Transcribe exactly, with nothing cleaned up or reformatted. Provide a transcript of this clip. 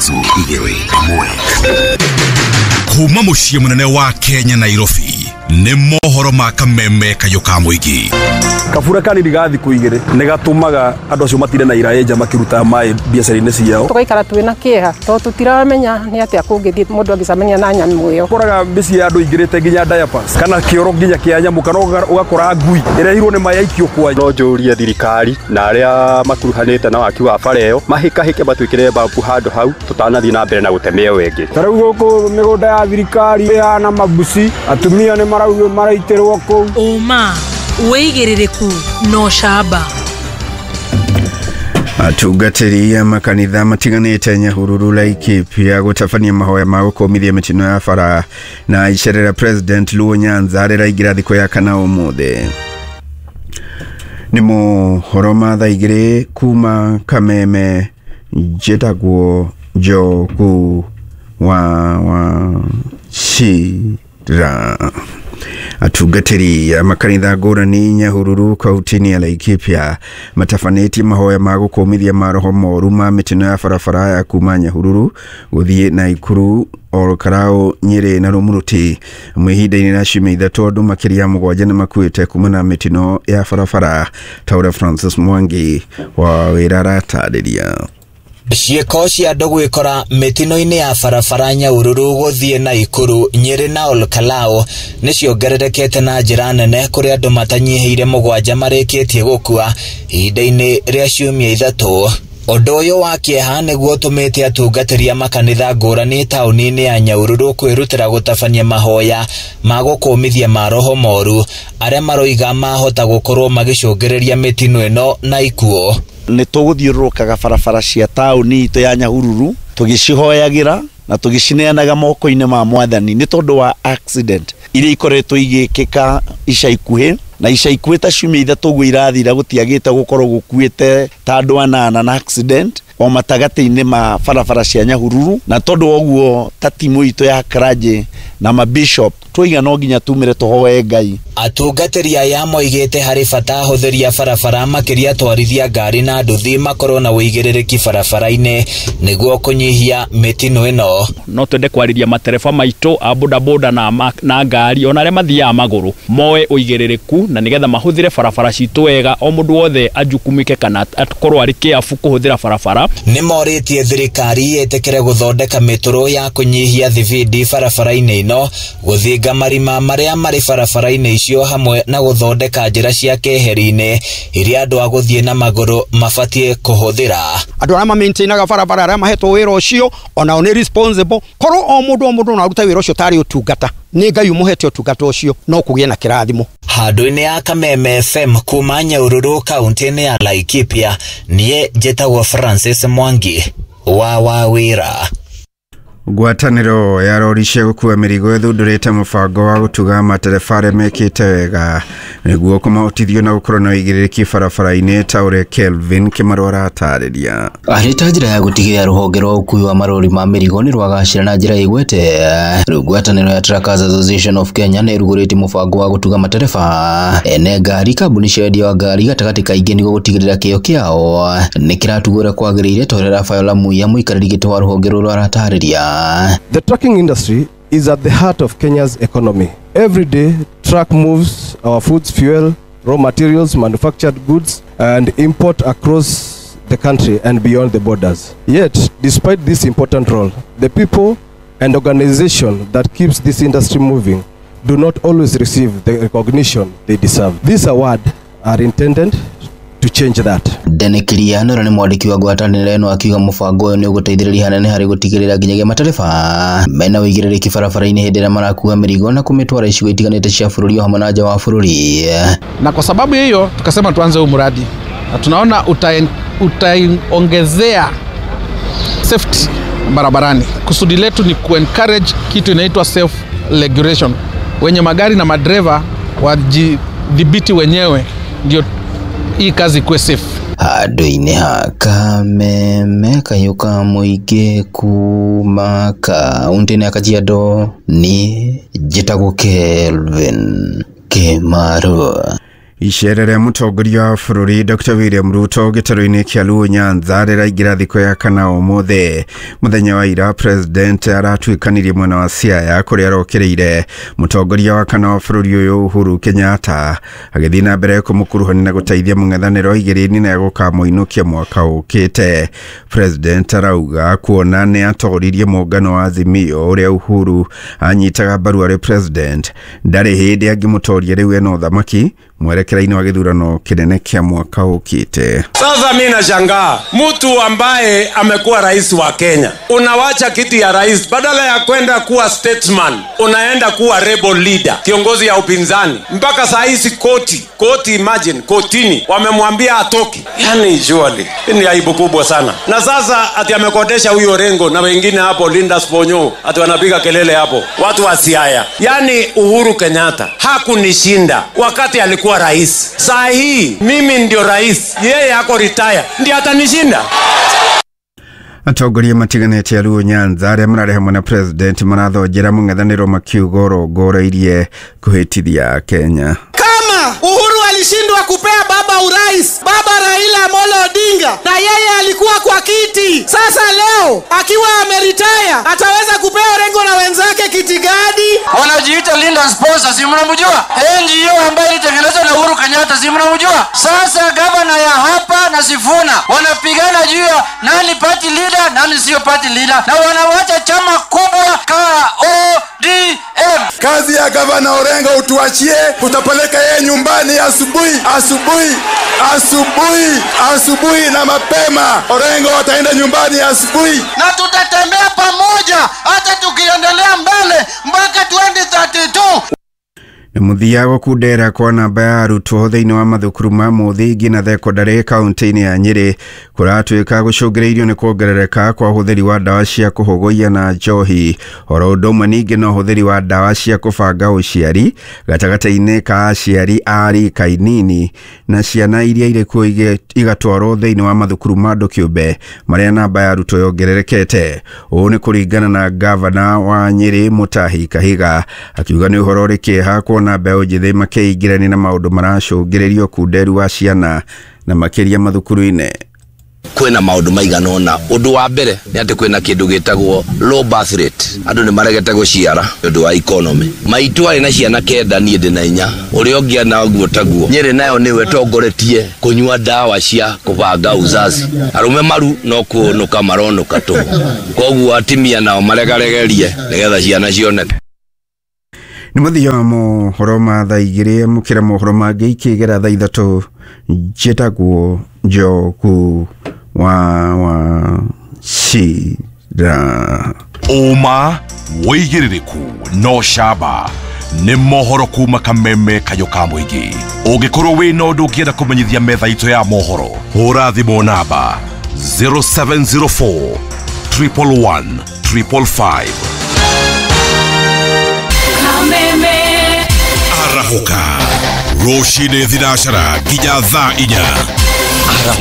Ithatũ igĩrĩ ĩmwe. Kuma mũciĩ mũnene wa Kenya Nairobi nĩ mohoro ma kameme kayũ ka mũingĩ. Kabura kanini ga thikũ igĩrĩ nĩ gatũmaga andũ acio matire na iraĩ nja makĩruta maĩ biacara-inĩ ciao. Tũgaikara twĩ na kĩeha tondũ tũtiramenya nĩ atĩa kũngĩthiĩ mũndũ angĩcemania na nyamũ ĩyo. Ũkoraga mĩciĩ ya andũ ingĩrĩte nginya diapers kana kĩoro nginya kĩa nyamũ kana ũgakora ngui ĩrehirwo nĩ maĩ aikio kwa. No njũrie thirikari na arĩa makuruhanĩte na waki wa bara ĩyo mahĩkahĩke matwĩkĩre bambu handũ hau tũtanathiĩ na mbere na gũteme ĩyo ĩngĩ. Ta rĩu gũkũ mĩgũnda ya thirikari ĩhana mabuci, atumia nĩ maraugio maraitĩrwo kũu. Ũma wĩigĩrĩrĩku no camba. Atungatĩri a makanitha matiganĩte Nyahururu Laikipia gũtabania mahoya ma gũkũmithia mĩtino ya bara na icerera President Luo Nyanza rĩraingĩra thikũ ya kana ũmũthĩ. Nĩ mohoro ma thaa igĩrĩ kuma Kameme, njĩtagwo Njogu wa Wachira. Atungatĩri a makanitha ngũrani Nyahururu kaunti-inĩ ya Laikipia matabanĩtie mahoya ma gũkũmithia maroho moru ma mĩtino ya barabara ya kuma Nyahururu gũthiĩ Naikuru, Olkarau, Nyĩrĩ na Rumuruti. Ihinda-inĩ rĩa ciumia ithatũ andũ makĩria mũgwanja nĩ makuĩte kumana na mĩtino ya barabara ta ũrĩa Francis Mwangi wa wĩra aratarĩria. Ciĩko cia andũ gwĩkora mĩtino-inĩ ya barabara Nyahururu gũthiĩ Naikuru, Nyĩrĩ na Olkalau nĩ ciongererekete na njĩra nene kũrĩa andũ matanyihĩire mũgwanja marĩkĩtie gũkua ihinda-inĩ rĩa ciumia ithatũ. Ũndũ ũyũ wa kĩeha nĩguo ũtũmĩte atungatĩri a makanitha ngũrani taũni-inĩ ya Nyahururu kwĩrutĩra gũtabania mahoya ma gũkũmithia maroho moru arĩa maroiga mahota gũkorwo magĩcũngĩrĩria mĩtino ĩno na ikuũ. Nĩ tũgũthiũrũrũkaga barabara cia taũni itũ ya Nyahururu tũgĩcihoyagĩra na tũgĩcineanaga moko-inĩ ma mwathani nĩ tondũ wa accident iria ikoretwo igĩkĩka ica ikuhĩ na ica ikuhĩ ta ciumia ithatũ ũguo irathira gũtiagĩte gũkorwo gũkuĩte ta andũ anana na accident o matagatĩ-inĩ ma barabara cia Nyahururu. Na tondũ wa ũguo ta timu itũ ya clergy na mabishop twoiga no nginya tumire tũhoe Ngai. Atungatĩri aya moigĩte harĩ bata ahũthĩri a barabara makĩria atwarithia ngari na nduthi makorwo na ũigĩrĩrĩki barabara-inĩ nĩguo kũnyihia mĩtino ĩno. No twende kwarĩria matereba maitũ a bodaboda na, na ngari ona arĩa mathiaga magũrũ moe ũigĩrĩrĩku na nĩgetha mahũthĩre barabara citũ wega, o mũndũ wothe ajukumike kana akorwo arĩ kĩabu kũhũthĩra barabara. Nĩ morĩtie thirikari ĩtĩkĩre gũthondeka mĩtũrũ ya kũnyihia thibindi barabara-inĩ ĩno, gũthinga marima marĩa marĩ barabara-inĩ icio hamwe na gũthondeka njĩra cia keheri-inĩ iria andũ a gũthiĩ na magũrũ mabatiĩ kũhũthĩra. Andũ arĩa ma-maintainaga barabara arĩa mahetwo wĩra ũcio onao nĩ responsible. Korwo o mũndũ o mũndũ no arute wĩra ũcio tarĩ ũtungata, nĩ Ngai ũmũhete ũtungata ũcio no kũgĩe na kĩrathimo. Handũ-inĩ ya Kameme F M kuma Nyahururu kaunti-inĩ ya Laikipia, niĩ njĩtagwo Francis Mwangi wa Wawĩra. Ngwatanĩro ya rori cia gũkua mĩrigo ĩthundũrĩte mũbango wa gũtuga matereba arĩa mekĩte wega nĩguo kũmahotithio na gũkorwo na ũigĩrĩrĩki barabara-inĩ ta ũrĩa Kelvin Kĩmarũ aratarĩria. Arĩ ta njĩra ya gũtigĩrĩra rũhonge rwa ũkui wa marori ma mĩrigo nĩ rwagacĩra na njĩra ĩgwete, rĩu ngwatanĩro ya Truckers Association of Kenya nĩ ĩrugũrĩtie mũbango wa gũtuga matereba ene ngari, kambuni cia wendia wa ngari gatagatĩ kaingĩ nĩguo gũtigĩrĩra kĩo kĩao nĩ kĩratugwo ũrĩa kwagĩrĩire ta ũrĩa Rafael Muiya mũikarĩri gĩtĩ wa rũhonge rũrũ aratarĩria. The trucking industry is at the heart of Kenya's economy. Every day, truck moves our foods, fuel, raw materials, manufactured goods, and import across the country and beyond the borders. Yet, despite this important role, the people and organization that keeps this industry moving do not always receive the recognition they deserve. This award are intended to change that. Dene Kiriano ũrĩa nĩ mwandĩki wa ngwatanĩro ĩno akiuga mũbango ũyũ nĩ ũgũteithĩrĩria hanene harĩ gũtigĩrĩra nginyagia matereba mena ũigĩrĩrĩki barabara-inĩ hĩndĩ ĩrĩa marakua mĩrigo na kũmĩtwara icigo itiganĩte cia bũrũri o hamwe na nja wa bũrũri. Na kwa sababu hiyo tukasema tuanze huu mradi na tunaona utaongezea safety barabarani. Kusudi letu ni kuencourage kitu inaitwa self regulation, wenye magari na madereva wajidhibiti wenyewe ndio hii kazi ikuwe safe. Handũ-inĩ ha Kameme kayũ ka mũingĩ kuma kaunti-inĩ ya Kajiado, niĩ njĩtagwo Kelvin Kĩmarũ. Icera rĩa mũtongoria wa bũrũri Dr William Ruto gĩtarũ-inĩ kĩa Luo Nyanza rĩraingĩra thikũ ya kana ũmũthĩ. Mũthenya wa ira president aratuĩkanirie mwena wa Siaya kũrĩa arokereire mũtongoria wa kana wa bũrũri ũyũ Uhuru Kenyatta agĩthiĩ na mbere kũmũkuruhania na gũteithia mũng'ethanĩro igĩrĩ-inĩ na gũkamũinũkia mwaka ũkĩte. President arauga kuona nĩ atoririe mũngano wa Azimio ũrĩa Uhuru anyitaga mbaru arĩ president ndarĩ hĩndĩ angĩmũtoria rĩu ena ũthamaki mwerekera-inĩ wa gĩthurano kĩnene kĩa mwaka ũkĩte. Sasa mimi nashangaa mtu ambaye amekuwa rais wa Kenya, unawacha kiti ya rais, badala ya kwenda kuwa statesman unaenda kuwa rebel leader, kiongozi ya upinzani. Mpaka saa hizi koti, koti imagine, kotini wamemwambia atoke. Yani surely ni aibu kubwa sana. Na sasa ati amekodesha huyo Orengo na wengine hapo Linda Sponyo, ati wanapiga kelele hapo watu wa Siaya. Yani Uhuru Kenyatta hakunishinda wakati alikuwa rais. Saa hii mimi ndio rais, yeye ako retire, ndiye atanishinda. Atongoria matiganĩte a Luo Nyanza arĩa mararĩ hamwe na president marathonjera mũng'ethanĩro makiuga ũrongoreirie kũhĩtithia Kenya. Kama Uhuru alishindwa kupea baba urais, baba Raila Amolo Odinga, na yeye alikuwa kwa kiti, sasa leo akiwa ameritaya ataweza kupea Orengo na wenzake kiti gani? Wanajiita Linda Sponsor, si mnamjua? N G O ambayo ilitengenezwa na Uhuru Kenyatta, si mnamjua? Sasa gavana ya hapa na Sifuna wanapigana juu ya nani party leader, nani sio party leader, na wanawacha chama kubwa K O D M. Kazi ya gavana Orengo utuachie, utapeleka yeye nyumbani asubuhi, asubuhi, asubuhi, asubuhi na mapema. Orengo ataenda nyumbani asubuhi. Na tutatembea pamoja hata tukiendelea mbele mpaka twenty thirty-two. Na mũthia gũkundera kwa namba ya arutwo thĩinĩ wa mathukuru ma mũthingi na thekondarĩ kaunti-inĩ ya Nyĩrĩ kũratuĩka gũcũngĩrĩirio nĩ kuongerereka kwa ũhũthĩri wa ndawa cia kũhũgũia na njohi oro ũndũ ũmwe ningĩ na ũhũthĩri wa ndawa cia kũbanga ũciari gatagatĩ-inĩ ka aciari a rika inini na ciana iria irĩ kuo igatwarwo thĩinĩ wa mathukuru ma andũ kĩũmbe marĩa namba ya arutwo yongererekete. Ũũ nĩ kũringana na gavana wa Nyĩrĩ Mutahi Kahiga akiuga nĩ ũhoro ũrĩ kĩeha kuona mbeũ njĩthĩ makĩingĩrania na maũndũ maracũngĩrĩria ũkunderu wa ciana na makĩria mathukuru-inĩ. Kwĩna maũndũ maigana ũna. Ũndũ wa mbere nĩ atĩ kwĩna kĩndũ gĩtagwo low birth rate, andũ nĩ maregete gũciara nĩ ũndũ wa economy. Maitũ arĩ na ciana kenda, niĩ ndĩ na inya, ũrĩa ũngĩ ana ũguo taguo. Nyĩrĩ nayo nĩwe ĩtongoretie kũnyua ndawa cia kũbanga uzazi. Arũme maru no kũnũka maronũka tũhũ, koguo atimia nao maregaregerie nĩgetha ciana cioneke. Nĩ mũthia wa mohoro ma thaa igĩrĩ, amũkĩra mohoro mangĩ ikĩgera thaa ithatũ. Njĩtagwo Njogu wa wa Cira. Ũma wĩigĩrĩrĩku no camba nĩ mohoro kuma kameme kayũ ka mũingĩ. Ũngĩkorwo wĩna ũndũ ũngĩenda kũmenyithia metha itũ ya mohoro, hũra thimũ namba zero seven zero four triple one triple five. Arahũka rũcinĩ thinacara nginya thaa inya. Arahũka.